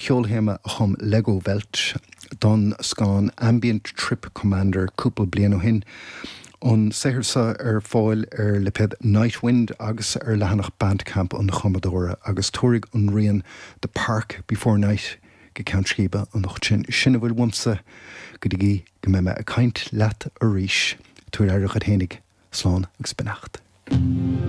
Ceolthéama a chum Legowelt don scannán Ambient Trip Commander cúpla bliain ó shin. An saothar seo ar fáil ar lipéad Nightwind agus ar leathanach Bandcamp an chumadóra agus tabharfaidh an rian The Park Before Night go ceann scríbe anocht sinn. Sin a bhfuil uaimse go dtí go mbeidh mé ag caint leat arís. Tabhair aire dhuit fhéinig. Slán agus beannacht.